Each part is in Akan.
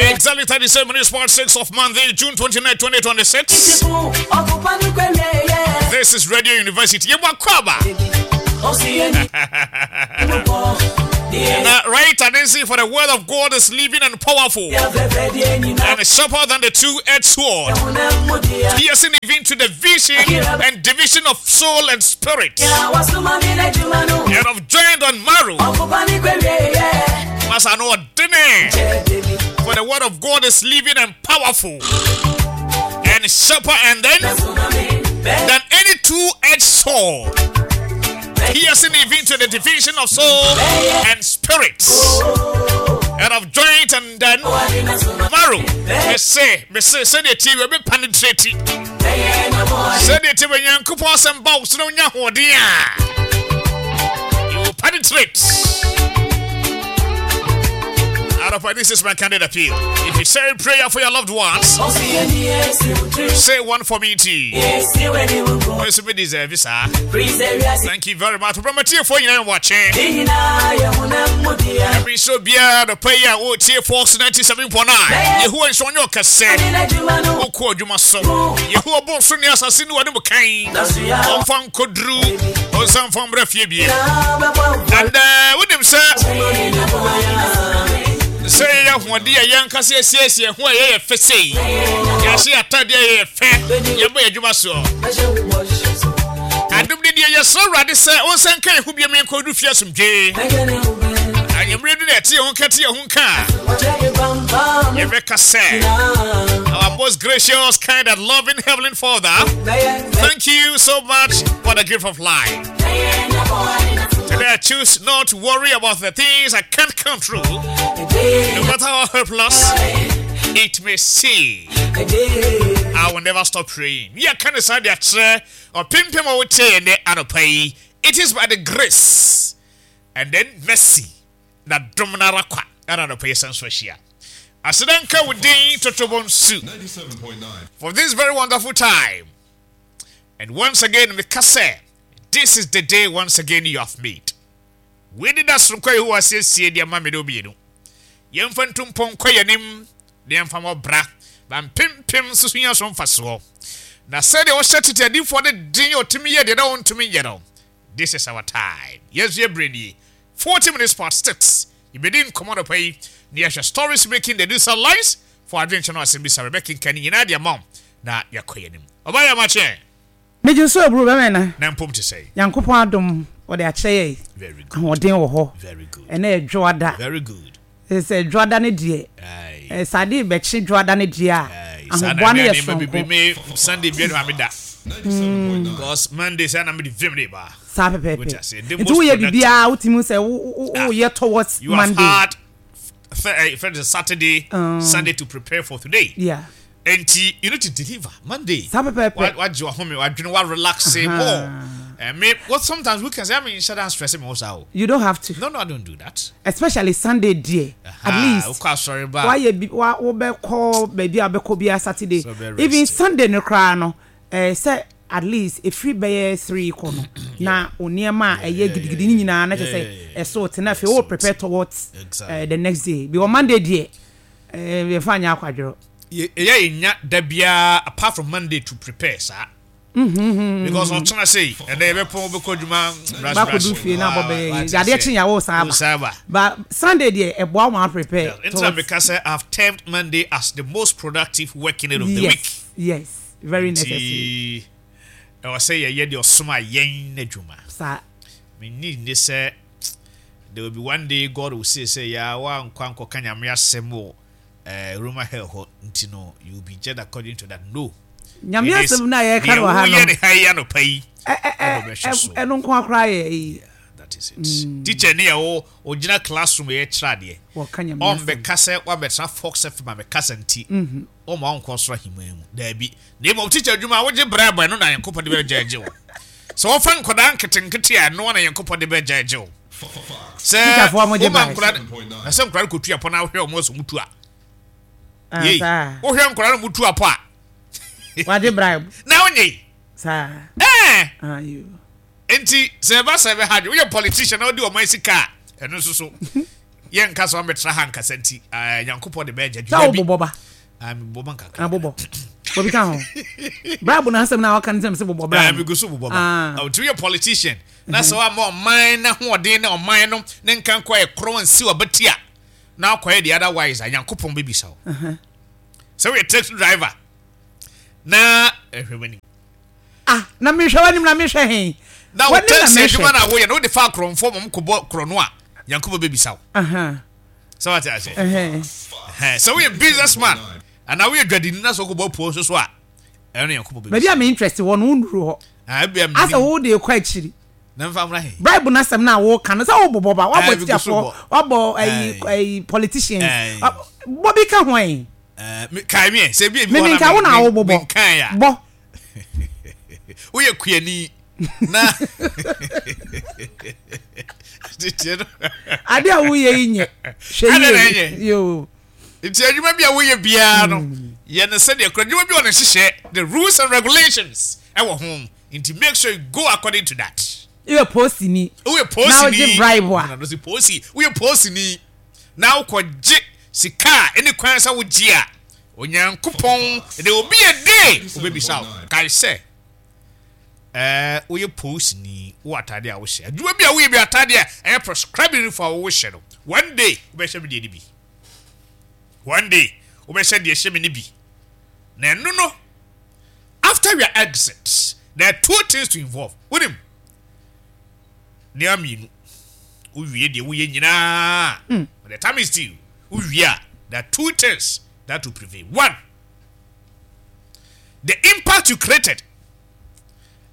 Exactly 37 minutes past 6 of Monday, June 29, 2026. This is Radio University. Yebakwaba. Now, right and see for the word of God is living and powerful and sharper than the two-edged sword, piercing even to the vision and division of soul and spirit, and of joint and marrow. For the word of God is living and powerful and sharper and then than any two-edged sword, piercing even to the division of soul and spirit, and of joint and then marrow. Mese, mese, sɛdeɛ tie wɔ bɛ penetrate. Sɛdeɛ tie wɔ Nyankopɔn asɛm ba wo so na wonya ahoɔden a, you will penetrate. Out of this is my candid appeal. If you say a prayer for your loved ones, say one for me too. Thank you very much. Promatie for you watching. Every so bia the pay a wotie Fox 97.9. Yehowa nso ɔnyɛ ɔkɛse. Wokɔ adwuma so. Yehowa bɔ so ne asase ne wɔne mu kan. Ɔmfa nkɔduru. Ɔnsan mfa mbrɛ fie bie. And wonim sɛ sɛ yɛyɛ ahoɔden a yɛn ankasa yɛsiesie ho a yɛyɛ fɛ sei. Yɛahyɛ atadeɛ a yɛyɛ fɛ. Yɛbɔ yɛn adwuma soɔ. Adom ne deɛ yɛsrɛ Awurade sɛ ɔnsan nka yɛn ho bio ma yɛnkɔdu fie asomdwee. Anwummerɛ du na ɛte yɛn ho nka te yɛn ho nka a, yɛbɛka sɛ our most gracious, kind and loving Heavenly Father, thank you so much for the gift of life. Today I choose not to worry about the things I can't control, no matter how helpless it may seem. I will never stop praying. Yeah, can decide Ɔpempem a wotie yɛn nnɛ anɔpa yi, it is by the grace and then mercy na dom no ara kwa ɛna anɔpa yi san so ahyia. Aseda nka wo din Totobonsu for this very wonderful time. And once again meka sɛ this is the day once again you have made. Wei ne da soronko a Yehowa asiesie de ama me ne wo mmienu. Yɛmfa ntu mpɔn nkɔ yɛn anim na yɛmfa mmɔ bra ma mpempem nso so nya so mfasoɔ. Na sɛdeɛ ɔhyɛ tete adiyifoɔ no den a ɔtumi yɛ deɛ na wɔntumi nyɛ no, this is our time. Yɛn nso yɛn berɛ nie. 40 minutes past 6. Yɛbɛdi nkɔmmɔ anɔpa yi na yɛahwɛ stories making the news headlines for adwenkyɛ no asɛmmisa. Yɛbɛkenkan ne nyinaa de ama wo na yɛakɔ yɛn anim. Ɔbaa yɛ amakyeɛ. Megye so aburo bɛmɛ na. Na mpom te sɛn? Nyankopɔn adom ɔde akyɛ yɛn. Very good. Ahoɔden wɔ hɔ. Very good. Ɛnɛ yɛ dwoada. Very good. Sɛ dwoada no deɛ. Aye. Sɛ ade rebɛkye dwoada no deɛ a. Aye. Saa na Ahoboa no me yɛ a nneɛma bebree soronko. me Sunday bia no a meda. Because Monday saa na mede vim de ba. Saa pɛpɛɛpɛ. Wote aseɛ? The Nti most woyɛ productive. biribiara wotumi hu sɛ wo wo Ah. woyɛ towards You have Monday. had friend Saturday, Sunday to prepare for today. Yeah. Enti you need to deliver Monday. Saa pɛpɛɛpɛ. Wagye wahome, wadwene, wa relax more. Eh, me, what sometimes weekends, I mean, shut down stress me also. Oh. You don't have to. No, no, I don't do that. Especially Sunday deɛ. At least. Wokɔ asɔre ba. Wayɛ bi wa wobɛkɔ baabi a wobɛkɔ biara Saturday. Even Sunday no koraa no, eh, sɛ at least efiri bɛyɛ 3 kɔ no na o nneɛma a ɛyɛ gidigidi ne nyinaa na kyerɛ sɛ ɛso te na afei o prepare towards eh, the next day. Because Monday deɛ, eh, yɛfa nyɛ akwadworɔ. Ɛyɛ yɛ nya da biara apart from Monday to prepare saa. Because ɔkyena sei ɛnɛ yɛbɛpɔn wobɛkɔ adwuma brush brush. Bakɔdu fie na abɔ bɛyɛ yi adeɛ kye yɛ wo san aba. But Sunday deɛ ɛboa wo ma prepare. Nti na meka sɛ I've termed Monday as the most productive working day of the week. Yes, very necessary. Nti ɛwɔ sɛ yɛyɛ deɛ ɔsoma yɛn n'adwuma. Saa. Menni nni sɛ there will be one day God will say sɛ yaa woankɔ ankɔka Nyame asɛm wɔ eh, Roma hell hɔ nti no you will be judged according to that no. Nyame asɛm no a yɛka no wɔ ha no. Deɛ woyɛ ne ha yi anɔpa yi ɛna ɔbɛhwɛ so. Ɛno nko akora yɛ yi. Yeah, that is it. Teacher ni a ɔgyina classroom yɛ kyerɛ adeɛ. Wɔka Nyame asɛm. Ɔmbɛka sɛ wabɛtena Fox FM abɛkasa nti ɔma ɔnkɔ soro ahemman mu. Daabi. Na mmom teacher adwuma a wogye bribe ɛno na Nyankopɔn de bɛgyɛgye wo. Sɛ wɔfa nkwadaa nketenkete a ɛno na Nyankopɔn de bɛgyɛgye wo. Sɛ woma nkwadaa na sɛ nkwadaa no kɔtu apɔ na wohwɛ wɔn sɛ wɔtu a. Ah, Yei, wohwɛ nkwadaa no mutu apɔ a. Wagye bribe. Na wonye yi. Saa. Ɛɛ. Ayo. Nti sɛ ɛba sɛ ɛbɛha dwe woyɛ politician na wodi ɔman sika a ɛno nso so. Yɛnka sɛ ɔmmɛtra ha nkasa nti, ah, Nyankopɔn de bɛyɛ Sɛ gyadwuma bi. wobobɔ ba. Ah, mebobɔ ba nkakra. Ah, bobɔ. Bɔ bi ka ho. Bribe no asɛm na ɔka no sɛ mesɛ bobɔ bra. Eh, megu so bobɔ ba. Ah. Ah, nti woyɛ politician na sɛ woama ɔman no ahoɔden ne ɔman no ne nkankɔ a ɛkorɔn ansi w'abati a, na akɔyɛ the otherwise a, Nyankopɔn bɛbisa wo. Sɛ woyɛ taxi driver na ɛhwɛ w'anim. Ah, na mehwɛ w'anim na mehwɛ he? Na wo taxi adwuma na woyɛ no wode fa akorɔmfoɔ ma wɔkɔbɔ korɔno a, Nyankopɔn bɛbisa wo. Sɛ wate ase? Sɛ woyɛ businessman anaa woyɛ dwadini na sɛ wokɔbɔ apuo nso so a, ɛno Nyankopɔn bɛbisa. Baabi a me interest wɔ no wonnuru hɔ. Ah, ebia menim. Asɛ wo de kɔ akyiri. Na mfa mmra he? Bribe no asɛm no a woka no sɛ wobobɔ ba, woabɔ tikyafoɔ, woabɔ ayi ayi politicians, bɔ bi ka ho ɛ. Kae me ɛ, sɛ ebi ebi wɔ na wo na wobobɔ. Menkae a. Bɔ. Woyɛ kuani na tete no. Ade a woyɛ yi nyɛ. Hwɛ yie. Yoo. Nti adwuma bi a woyɛ biara no, yɛ no sɛdeɛ kora adwuma bi wɔ ne nhyehyɛ, the rules and regulations ɛwɔ ho. Nti make sure you go according to that. Woyɛ poosini. Woyɛ poosini. Na wogye bribe a. Na wogye poosi. Woyɛ poosini. Na wokɔgye sika a ɛne kwan sɛ wogye a, Onyankopɔn there will be a day obebisa wo. Kae sɛ, ɛɛ woyɛ poosini, wowɔ atade a wohyɛ. Adwuma bi a woyɛ bi atade a ɛyɛ prescribed uniform a wohyɛ no. One day wobɛhyɛ me deɛ no bi. One day wobɛhyɛ deɛ ɛhyɛ me no bi. Na ɛno no, after your exit, there are two things to involve. Wonim, nneɛma mmienu. Wowie deɛ woyɛ nyinaa. When the time is due, wowie a, there are two things that will prevail. One, the impact you created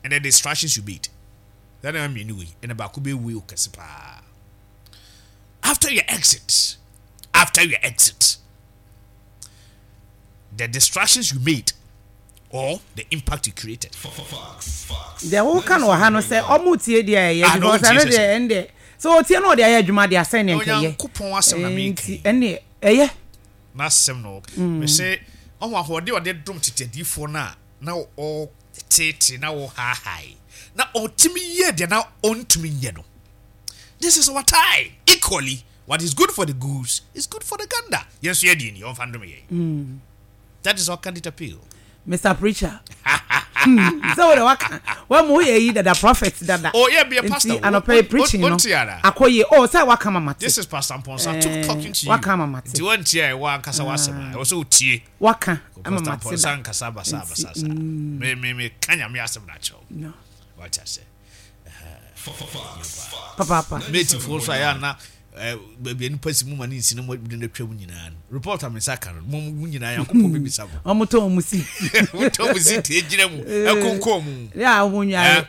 and the distractions you made. That nneɛma mmienu wei, ɛna baako bɛwei wo kɛse paa. After your exit, after your exit, the distractions you made or the impact you created. Deɛ woka no wɔ ha no sɛ ɔmo tie deɛ ɛyɛ ah, because ɛno deɛ ɛn deɛ sɛ ɔtie na ɔde ayɛ adwuma deɛ asɛn deɛ nkɛyɛ Onyankopɔn asɛm na meka nti ɛn deɛ ɛyɛ. N'asɛm na ɔka mese ɔho ahoɔden ɔde dom tete adiyifoɔ no a na ɔtetee na ɔhaahae na ɔtumi yɛ deɛ na ɔntumi nyɛ no. This is our time equally what is good for the goose is good for the gander. Yɛn nso yɛ deɛ ni ɔmfa ndome yɛn. That is our candid appeal. Mr. Preacher. Hmm. Sɛ wo de waka wa mu yɛ yi dada prophet dada. Oh yeah, be a pastor. Nti anɔpɛ yi preaching no akɔ yie. Oh sɛ waka mama te. This is Pastor Mponsa eh, talking to you. Waka mama te. Nti wɔn tie a ɛwɔ ankasa w'asɛm a ɛwɔ sɛ otie. Waka mama te da. Pastor Mponsa nkasa basa basa sa. Me me me ka nyame asɛm na akyerɛw. No. Wate ase. Papaapa. Matefoɔ nso a yɛ ana baabi a nipa si mu ma ne nsi na mo de no atwam nyinaa no report a me nsa ka no mo mo nyinaa Nyankopɔn bɛbisa mo. Wɔn tɔn wɔn si. Wɔn tɔn wɔn si te gyina mu ɛkonkɔn mu. Yɛ a wɔn nware.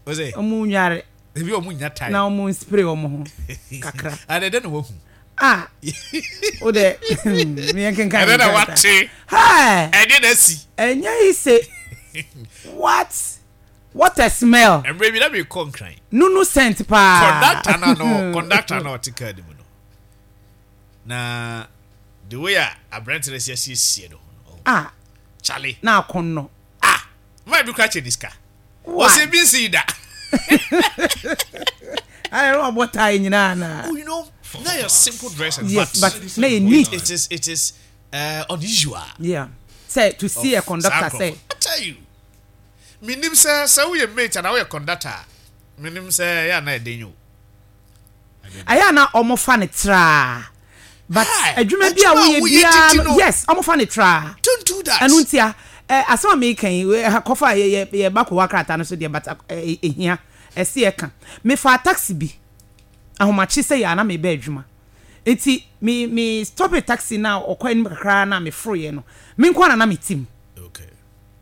Ɔsɛ. Wɔn nware. Ebi wɔn nya time. Na wɔn spray wɔn ho kakra. Adɛ dɛ na wahu. Ah o de meyɛ nkenkan. Ɛdɛ na wate. Ɛdɛ na asi. Ɛnyɛ yi se what. What a smell! Mmerɛ bi na merekɔ Nkran. Nunu scent paa. Conductor no ano conductor no a ɔte car no mu no na the way a aberante no asi asiesie ne ho no. Ah. Charlie. Na akɔnnɔ. Ah! Man bi kora kyɛ ne sika. Ɔsɛ bi nsi da. Ayɛ na wabɔ tie nyinaa na. Oh, you know, na yɛ simple dress and yes, but na yɛ neat. It is unusual. Yeah. Sɛ to see a conductor sɛ. I tell you. Menim sɛ sɛ woyɛ mate anaa woyɛ conductor a, menim sɛ ɛyɛ a na ɛden o. Ɛyɛ a na wɔn fa no traa but adwuma bi a woyɛ biara no yes wɔn fa no traa. Don't do that. Ɛno ntia ɛ asɛm a meka yi kɔfa yɛ yɛ yɛ ba kowa krataa no so deɛ but ehia ɛsi ɛka. Mefaa taxi bi ahomakye sɛ yɛ a na meba adwuma nti me me stop taxi na ɔkɔ anim kakra na meforoyɛ no me nko ara na na mete mu. Okay.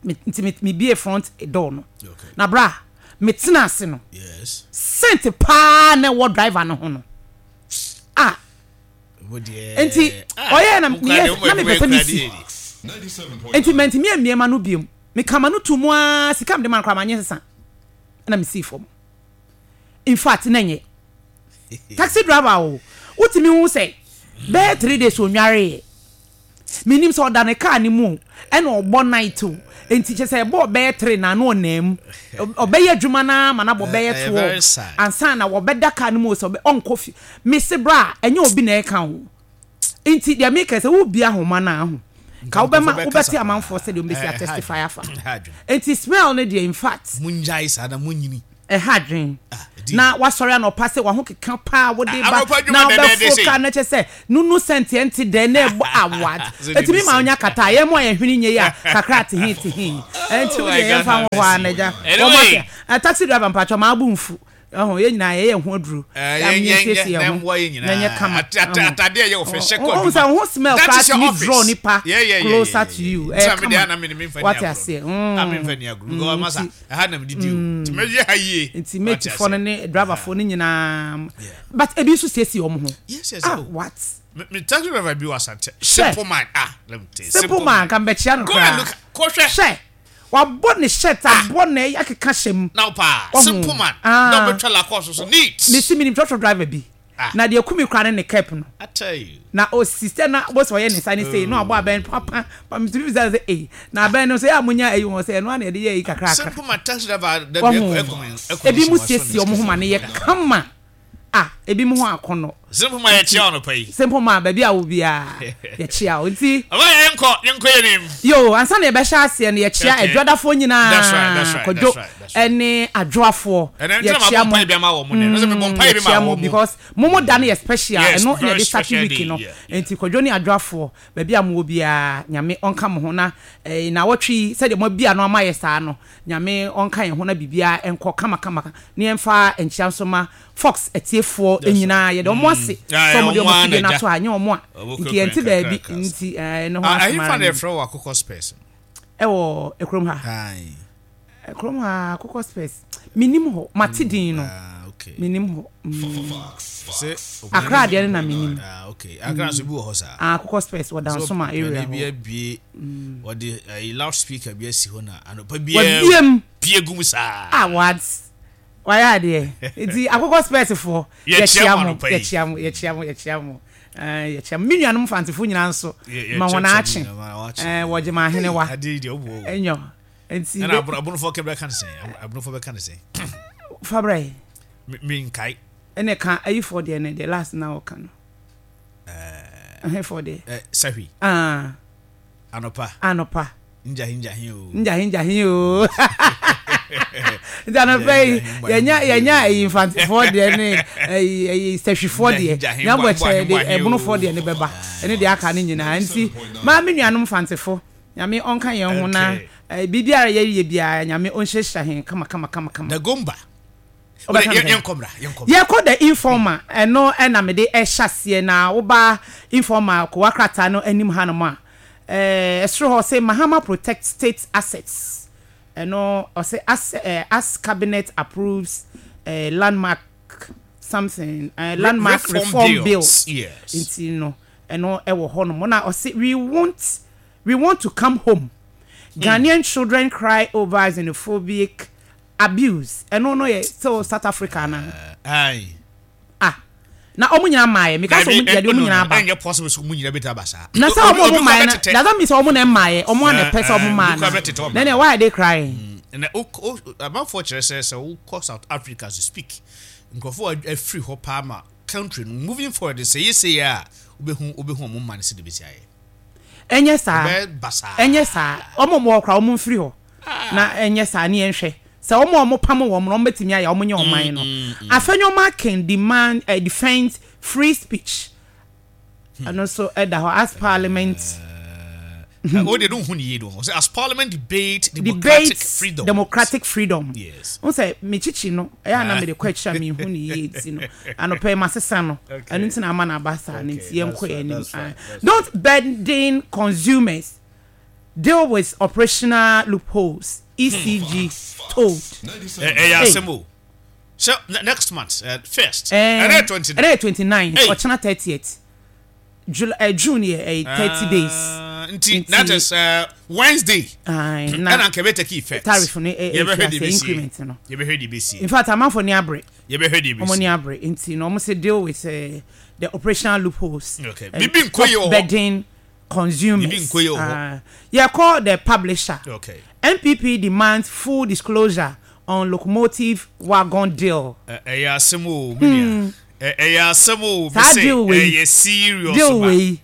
Me nti me me bie front door no. Okay. Na bra me tena ase no. Yes. Scent paa na ɛwɔ driver no ho no. Ah. Nti ɔyɛ na me yɛ na me pɛ sɛ me si. Nti mantumi ammie ma no biom. Me kama no to mu aa sika mede ma no koraa manyɛ sesa. Na me sii fam. In fact na nyɛ. Taxi driver o. Wotumi hu sɛ bɛyɛ 3 days onwareeɛ. Menim sɛ ɔda ne kaa no mu o, ɛna ɔbɔ night o, nti kyerɛ sɛ ɛbɔɔ bɛyɛ tre na na ɔnam mu. Ɔbɛyɛ adwuma no ara ma no abɔ bɛyɛ 12 ansa na wɔbɛda kaa no mu o, sɛ ɔnkɔ fie. Mese bra, ɛnyɛ obi na ɛreka o. Nti deɛ meka sɛ wobie ahoma no a ho, ka wobɛma wobɛte amanfoɔ sɛdeɛ wɔbɛsi atestify afa. Nti smell no deɛ in fact. Mongyae saa na monyini. Ɛha adwen. Na wasɔre anɔpa sɛ wahokeka paa wode ba na wobɛforo kaa na kyɛ sɛ nunu sɛnteɛ nte dɛ na ɛbɔ awad. Ɛtumi ma wonya kata a yɛn mu a yɛn hwene nyɛ yi a kakra tehe tehe. Ɛnti wo deɛ yɛmfa ho hɔ ara na agya. Wɔn ase a taxi driver mpakyɛw maa bo nfu. Ɛho yɛn nyinaa yɛyɛ ho aduro. Yɛn yɛnsiesie yɛn ho na ɛnyɛ kama. Wohu sɛ wo ho smell koraa tumi draw nipa closer to you. Ɛyɛ kama. Wate aseɛ. Nti. Ɛha na medidi o. Nti mɛyɛ ha yie. Nti matefoɔ no ne driverfoɔ no nyinaa but ebi nso siesie wɔn ho. Yes yes. Ah what? Me me taxi driver bi wɔ Asante. Simple man ah let me tell you. Simple man nka mbɛkyia no koraa. Go and look kɔhwɛ. Hwɛ wabɔ ne shirt abɔ na akeka hyɛ mu. Na paa simple man na ɔbɛtwa Lacoste so neat. Mesi minim trɔtrɔ driver bi. Na deɛ ɛku me koraa ne ne cap no. Na ɔsi sɛ na wobɛhu sɛ ɔyɛ ne nsa ne sei na wabɔ abɛn papa pa metumi bisa no sɛ ei na abɛn no nso yɛ a monya ayi wɔn sɛ ɛno ara na yɛde yɛ ayi kakrakra. Wahu ebi mu siesie wɔn ho ma no yɛ kama ah ebi mu ho akɔnɔ. Simple ma yɛkyia wo anɔpa yi. Simple ma baabi a wɔ biara yɛkyia wo nti. Ɔbaa yɛ yɛnkɔ yɛnkɔ yɛn anim. Yoo ansa na yɛbɛhyɛ aseɛ no yɛkyia adwadafoɔ nyinaa Kwadwo ɛne adwoafoɔ yɛkyia mo yɛkyia mo because mo mo da no yɛ special ɛno na yɛde start week no nti Kwadwo ne adwoafoɔ baabi a mowɔ biara Nyame ɔnka mo ho na naawɔtwe yi sɛdeɛ mo abi ano ama yɛ saa no Nyame ɔnka yɛn ho na biribiara nkɔ kama kama na yɛmfa nkyia nso ma Fox atiefoɔ nyinaa yɛde wɔn ase sɛ wɔn de wɔn afidie no ato ha nyɛ wɔn a nti yɛnte baabi nti ɛno ho asɛm ara ni. Ɛwɔ kurom ha. Kurom ha akokɔ spɛs menim hɔ mate din no menim hɔ Accra deɛ no na menim Accra nso bi wɔ hɔ saa akokɔ spɛs wɔ Dansoma area hɔ bi abie wɔde ayi loud speaker bi asi hɔ na anɔpa biara wabiem pie gum saa ah what wayɛ adeɛ nti akokɔ spɛs foɔ yɛkyia mo yɛkyia mo yɛkyia mo yɛkyia mo yɛkyia mo me nuanom mfantefo nyinaa nso ma wɔn akye wɔgye ma ahenewa ɛnyɔ Nti Ɛna abono abonofo kɛ bɛka ne sɛn? Abonofo bɛka ne sɛn? Fa brɛ. Me me nkae. Ɛna ka ayifoɔ deɛ no the last na ɔka no. Ɛɛ. Ɛhefoɔ deɛ? Ɛ sahwi. Ah. Anɔpa. Anɔpa. Ngyahe ngyahe o. Ngyahe ngyahe o. Nti anɔpa yi yɛnya yɛnya ayi mfantefoɔ deɛ ne ayi ayi sahwifoɔ deɛ. Nyabɔ kyerɛ de ɛbonofoɔ deɛ ne bɛba ɛne deɛ aka ne nyinaa nti maa me nuanom mfantefo. Nyame ɔnka yɛn ho na biribiara yɛyɛ biara Nyame ɔnhyirahyira hɛn kama kama kama kama. Dagomba. Wobɛka no sɛn? Yɛnkɔ mmra, yɛnkɔ mmra. Yɛkɔ the informer, ɛno na mede ɛhyɛ aseɛ na woba informer kowa krataa no anim hanom a, ɛsoro hɔ ɔse Mahama protect state assets, ɛno ɔse as, as cabinet approves landmark something, landmark reform bills, nti no ɛno ɛwɔ hɔnom na ɔse we won't We want to come home. Ghanaian children cry over xenophobic abuse. Ɛno no yɛ still South Africa ana? Aye. Ah. Na ɔmo nyinaa mmaeɛ. Meka sɛ ɔmo yɛde ɔmo nyinaa aba. Ɛnyɛ possible sɛ ɔmo nyinaa bɛtumi aba saa. Na sɛ ɔmo ɔmo mmaeɛ no, does that mean sɛ ɔmo na ɛmmaeɛ? Ɔmo a na ɛpɛ sɛ ɔmo mmaa na. Then then why are they crying? Na o o amanfoɔ kyerɛ sɛ sɛ wokɔ South Africa to speak, nkurɔfoɔ afiri hɔ paa ma country no moving forward sɛ yɛ sei a wobɛhu wobɛhu ɔmo mma no sɛdeɛ ɛbɛsi ayɛ. Ɛnyɛ saa. Ɛnyɛ saa. Wɔn a wɔwɔ hɔ koraa, wɔmfiri hɔ. Na ɛnyɛ saa, ne yɛnhwɛ. Sɛ wɔn a wɔpamo wɔn no, wɔbɛtumi ayɛ a, wɔnyɛ ɔman no. Afenyo Markin demand, eh, defends free speech. Ɛno nso ɛda hɔ as parliament. O de no hu ne yie do. Sɛ as parliament debate democratic freedom. Democratic freedom. Yes. N sɛ mekyikyi no ɛyɛ a na mede kɔ akyiri a menhu ne yie nti no anɔpɛ yi masesa no ɛno nti na ama no aba saa no nti yɛnkɔ yɛn anim. Don't burden consumers deal with operational loopholes ECG told. Ɛyɛ asɛm o. Sɛ next month first. Ɛnɛ yɛ 29. Ɛnɛ yɛ 29 ɔkyena 30th. July eh, June yɛ ɛyɛ 30 days. Nti that is Wednesday. Ɛna nka ɛbɛ take effect. Tariff no ɛyɛ increment no. Yɛbɛhwɛ deɛ ɛbɛsie. In fact amanfo ni abere. Yɛbɛhwɛ deɛ ɛbɛsie. Wɔn ni abere nti na wɔn sɛ deal with the operational loopholes. Okay. Bibi nkɔ yie wɔ hɔ. Burden. Consumers. Biribi nkɔ yie wɔ hɔ. Ah, yɛkɔ the publisher. Okay. NPP demands full disclosure on locomotive wagon deal. Ɛyɛ asɛm o, me nua. Ɛyɛ asɛm o, Saa mese deal wei. ɛyɛ serious Deal ba. wei.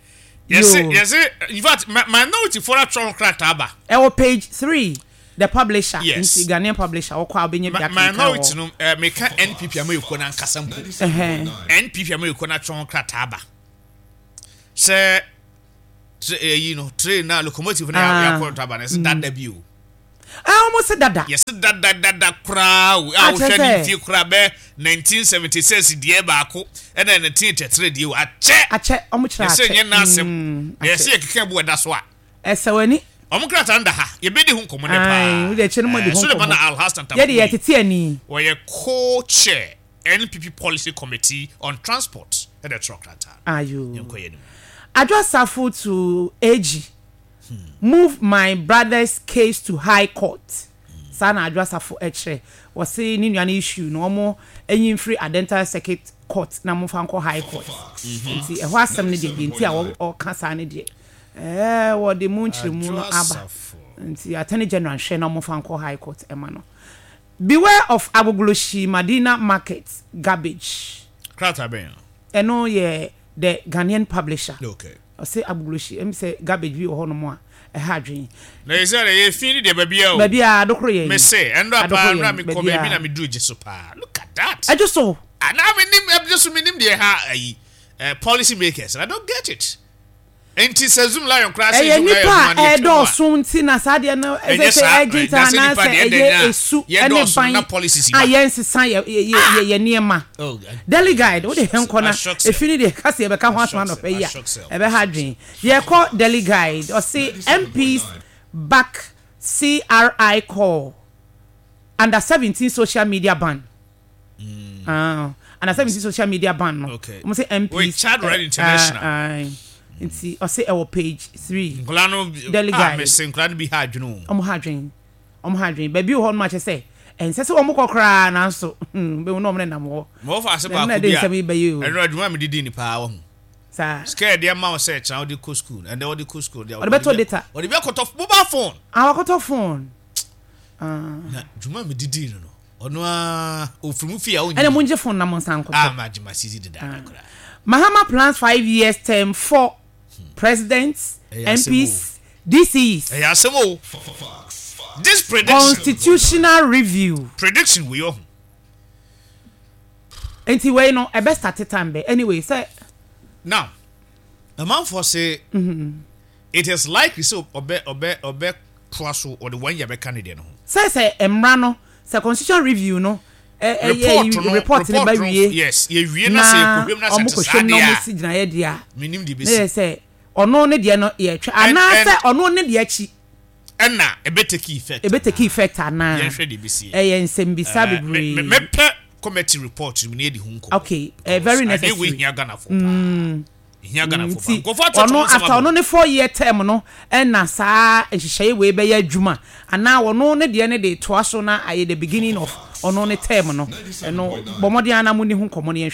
Yɛse Yoo. yɛse in fact minority foɔ no atwerɛ ho krataa ba. Ɛwɔ page 3, the publisher. Yes. Nti Ghanaian publisher wokɔ a wobɛnya bi akenkan wɔ Minority hɔ. no meka NPP amayɛkuo no ankasa mpo. Ɛhɛn. NPP amayɛkuo no atwerɛ ho krataa ba. Sɛ ɛyi no train na locomotive na Ah. yɛakɔ ntaba no ɛsɛ dada bi o. Ah, wɔn se dada. Yɛsɛ dada dada koraa o. A Ah, kyerɛ wohwɛ ne sɛ. mfie koraa bɛ 1976 deɛ baako ɛna 1983 deɛ o akyɛ. Akyɛ, wɔn kyerɛ Yɛsɛ akyɛ. nyɛ n'asɛm. Mm, Yɛsɛ akyɛ. yɛkeka bu ɛda so a. Ɛsɛ w'ani. Wɔn krataa no da ha. Yɛbɛdi ho nkɔmmɔ nɛ Ae, paa. wode akyire no mo di ho Suleiman nkɔmmɔ. Alhassan Yɛde Tampuli. yɛtete ani. Wɔyɛ co-chair NPP Policy Committee on Transport ɛna ɛtwerɛ krataa no. Ayo. Yɛnkɔ yɛn anim. Adwo Asafo to AG, move my brother's case to high court. Saa na Adwo Asafo kyerɛ. Wɔse ne nua no issue no wɔn nyi mfiri Adenta Circuit Court na momfa nkɔ high court. Nti ɛhɔ asɛm no deɛ, deɛ nti a ɔka saa no deɛ, ɛɛ wɔde mu nkyerɛmu no aba. Nti Attorney General nhwɛ na wɔmfa nkɔ high court ɛma no. Beware of Agbogbloshie Madina Market garbage. Krataa bɛn a? Ɛno yɛ The Ghanaian Publisher. Okay. Ɔse Agbogbloshie, ɛm sɛ garbage bi wɔ hɔnom a ɛha adwene. Na yɛ sɛ yɛ fi ne deɛ baabiara o. Baabiara, adokoro yɛn. Me se, ɛnora paa, Adokoro ɛnora yɛn, me kɔ baabi baabiara. na me duru gye so paa. Look at that. Ɛgye so. Ah, na me nim, ɛgye so me nim deɛ ɛha ayi, eh, policy makers, I don't get it. Nti sɛ Zoom Lion koraa sɛ Ɛyɛ Zoom Lion nnipa adwuma a no yɛ twam a. ɛredɔɔso nti na saa adeɛ no ɛsɛ Ɛnyɛ sɛ saa, ɛgye na ntaa sɛ nnipa anaasɛ deɛ ɛdɛn ɛyɛ a esu ne yɛdɔɔso no ban na policies a ba. yɛnsesa yɛ yɛ yɛ yɛ nneɛma. Oh, Daily Guide, wode yɛn nkɔ na Ashock sɛ. efi no deɛ ka sɛ yɛbɛka ho asɛm Ashock sɛ, anɔpa yi a, ashock sɛ, ɛbɛha ashock sɛ. adwene. Yɛkɔ Daily Guide, ɔse MPs back CRI call under 17 social media ban. Ah, and asɛ mesi social media ban no. Okay. Wɔn sɛ MPs. Wait, Child Right International. Ah, ah, nti ɔsɛ ɛwɔ page 3. Nkɔla no, Daily ah, Guide. mese nkɔla no bi ha adwene o. Wɔn ha adwene. Wɔn ha adwene. Baabi wɔ hɔ nom akyɛ sɛ ɛnsɛ sɛ wɔn kɔ koraa nanso bɛhu na wɔn nenam hɔ. Ma wɔfa ase Na ɛno na baako ɛde bi a nsɛm yi bɛyɛ o. ɛno adwuma a mede di ni paa wɔ ho. Saa. Sika yɛde ama wo sɛ kyena wode kɔ school, ɛnɛ wode kɔ school. Ɔde bɛtɔ data. Ɔde bi akɔtɔ mobile phone. Ah, wakɔtɔ phone. Ah. Na dwuma a mede dii no no, ɔno ara ofiri mu fie a ɔnyɛ Ɛna mo ngye phone na mo nsan nkɔtɔ. Ah, ma gye ma sisi dedaada koraa. Mahama plans 5 years term for presidents, Ɛyɛ asɛm o. MPs, DCEs. Ɛyɛ asɛm o. This prediction. Constitutional review. Prediction wei ɔho. Nti wei no ɛbɛ start time bɛ anyway sɛ. Now, amanfoɔ se it is likely sɛ ɔbɛ toa so ɔde 1 year bɛka ne deɛ no ho. Sɛ mmara no sɛ constitutional review no ɛ ɛ Report no report no ba report no wie. Yes, yɛwie na sɛ yɛkɔhwɛm na sɛ ɔmo te saa kɔhwɛm na deɛ ɔmo a si gyinaeɛ deɛ a. Menim deɛ Ne yɛ bɛsi. sɛ ɔno ne deɛ no yɛtwɛ anaasɛ ɔno ne deɛ akyi. Ɛna ɛbɛ take effect. Ɛbɛ take effect anaa. Yɛnhwɛ deɛ bɛsi. Ɛyɛ nsɛmbisa bebree. Mɛpɛ committee report no mu na yɛdi ho nkɔmmɔ. Okay, very Because adeɛ wei necessary. hia Ghanafoɔ paa. Hia Ghanafoɔ paa. Nti Nkurɔfoɔ atwerɛtwerɛ ɔno ho nsɛm after abɔ. ɔno ne 4 year term no ɛna saa nhyehyɛeɛ wei bɛyɛ adwuma anaa ɔno ne deɛ ne de toa so na ayɛ the beginning of ɔno ne term no. Ɛno bɔ mmɔden ara na mo ni ho nkɔmmɔ no yɛnhwɛ.